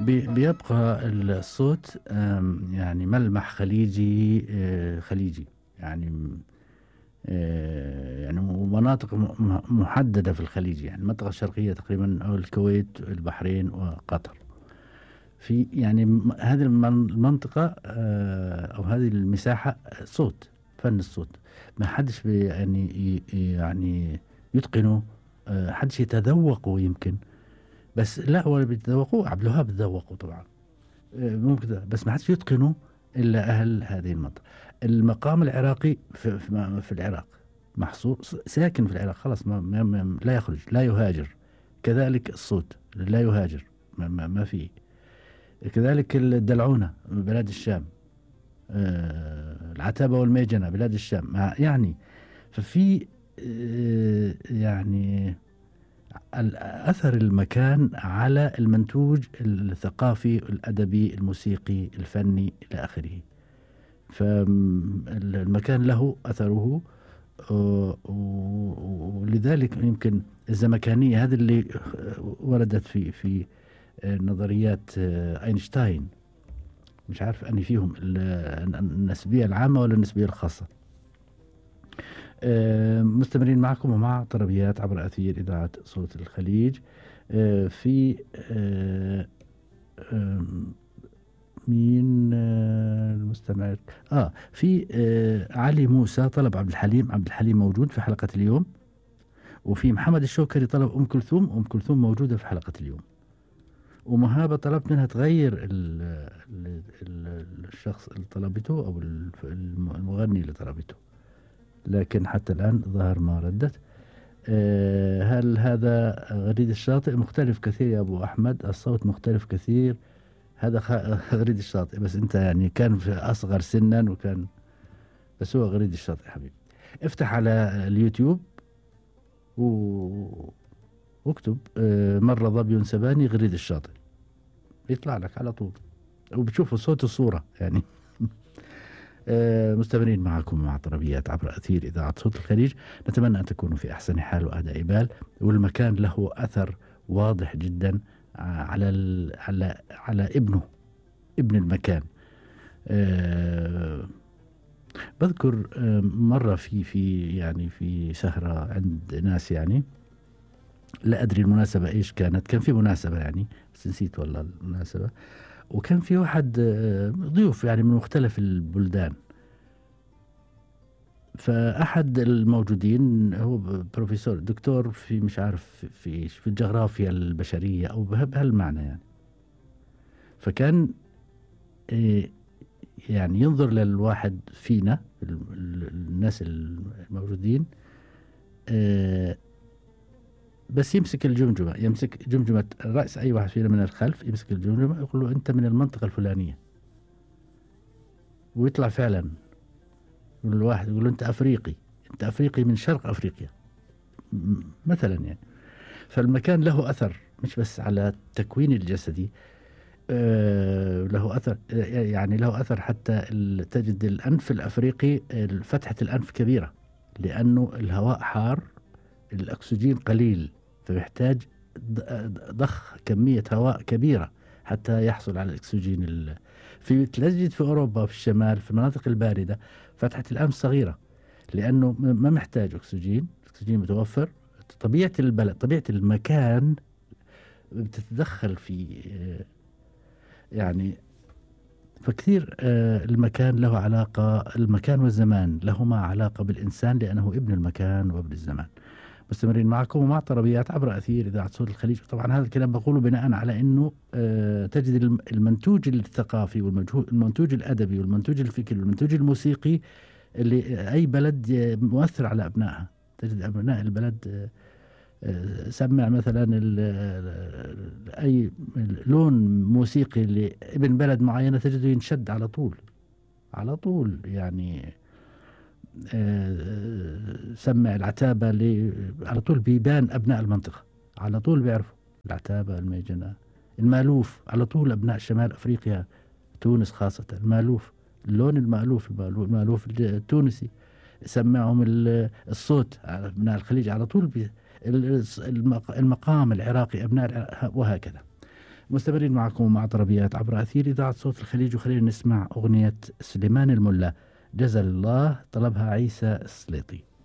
بيبقى الصوت يعني ملمح خليجي خليجي يعني يعني مناطق محددة في الخليج، يعني المنطقة الشرقية تقريبا أو الكويت البحرين وقطر. في يعني هذه المنطقة أو هذه المساحة صوت، فن الصوت ما حدش يعني يتقنه، حدش يتذوقه يمكن، بس لا ولا بيتذوقوه. عبد الوهاب تذوقوا طبعا ممكن، بس ما حدش يتقنه إلا أهل هذه المنطقة. المقام العراقي في العراق محصور، ساكن في العراق خلاص، لا يخرج لا يهاجر. كذلك الصوت لا يهاجر، ما فيه. كذلك الدلعونة بلاد الشام، العتابة والميجنة بلاد الشام، يعني ففي يعني أثر المكان على المنتوج الثقافي الأدبي الموسيقي الفني إلى آخره. فالمكان له أثره، ولذلك يمكن الزمكانية هذا اللي وردت في نظريات أينشتاين، مش عارف أني فيهم النسبية العامة ولا النسبية الخاصة. مستمرين معكم ومع طربيات عبر أثير إذاعة صوت الخليج. في مين المستمع؟ في علي موسى طلب عبد الحليم موجود في حلقة اليوم، وفي محمد الشوكري طلب أم كلثوم موجودة في حلقة اليوم، ومهابة طلبت منها تغير الشخص اللي طلبته أو المغني اللي طلبته، لكن حتى الآن ظهر ما ردت. هل هذا غريد الشاطئ؟ مختلف كثير يا أبو أحمد، الصوت مختلف كثير. هذا غريد الشاطئ، بس أنت يعني كان في أصغر سنا وكان، بس هو غريد الشاطئ حبيبي. افتح على اليوتيوب واكتب مرة ظبي سباني غريد الشاطئ، يطلع لك على طول وبتشوفوا صوت الصورة يعني. مستمرين معكم مع طربيات عبر أثير إذاعة صوت الخليج. نتمنى أن تكونوا في أحسن حال وأداء بال، والمكان له أثر واضح جدا على ابن المكان. بذكر مرة في سهرة عند ناس، يعني لا أدري المناسبة إيش كانت، كان في مناسبة يعني بس نسيت والله المناسبة، وكان في واحد ضيوف يعني من مختلف البلدان، فأحد الموجودين هو بروفيسور دكتور في مش عارف في الجغرافيا البشرية أو بهالمعنى يعني. فكان يعني ينظر للواحد فينا الناس الموجودين، بس يمسك جمجمة رأس أي واحد فينا من الخلف، يمسك الجمجمة يقول له أنت من المنطقة الفلانية، ويطلع فعلا الواحد يقول له أنت أفريقي من شرق أفريقيا مثلا يعني. فالمكان له أثر مش بس على التكوين الجسدي، له أثر، يعني له أثر حتى تجد الأنف الأفريقي فتحة الأنف كبيرة، لأنه الهواء حار، الأكسجين قليل، فبيحتاج ضخ كمية هواء كبيرة حتى يحصل على الأكسجين. تجد في أوروبا في الشمال في المناطق الباردة فتحة الأنف صغيرة، لأنه ما محتاج أكسجين متوفر. طبيعة البلد، طبيعة المكان بتتدخل في يعني، فكثير المكان له علاقة، المكان والزمان لهما علاقة بالإنسان لأنه ابن المكان وابن الزمان. مستمرين معكم ومع طربيات عبر أثير إذاعة صوت الخليج. طبعا هذا الكلام بقوله بناء على أنه تجد المنتوج الثقافي والمنتوج الأدبي والمنتوج الفكري والمنتوج الموسيقي اللي أي بلد مؤثر على أبنائها. تجد أبناء البلد سمع مثلا أي لون موسيقي لابن بلد معينة تجده ينشد على طول يعني. سمع العتابة على طول بيبان أبناء المنطقة، على طول بيعرفوا العتابة، الميجنة، المالوف، على طول أبناء شمال أفريقيا، تونس خاصة، المالوف، اللون المالوف التونسي، سمعهم الصوت أبناء الخليج على طول المقام العراقي أبناء وهكذا. مستمرين معكم مع طربيات عبر أثير إذاعة صوت الخليج، وخلينا نسمع أغنية سليمان الملا جزل الله، طلبها عيسى السليطي.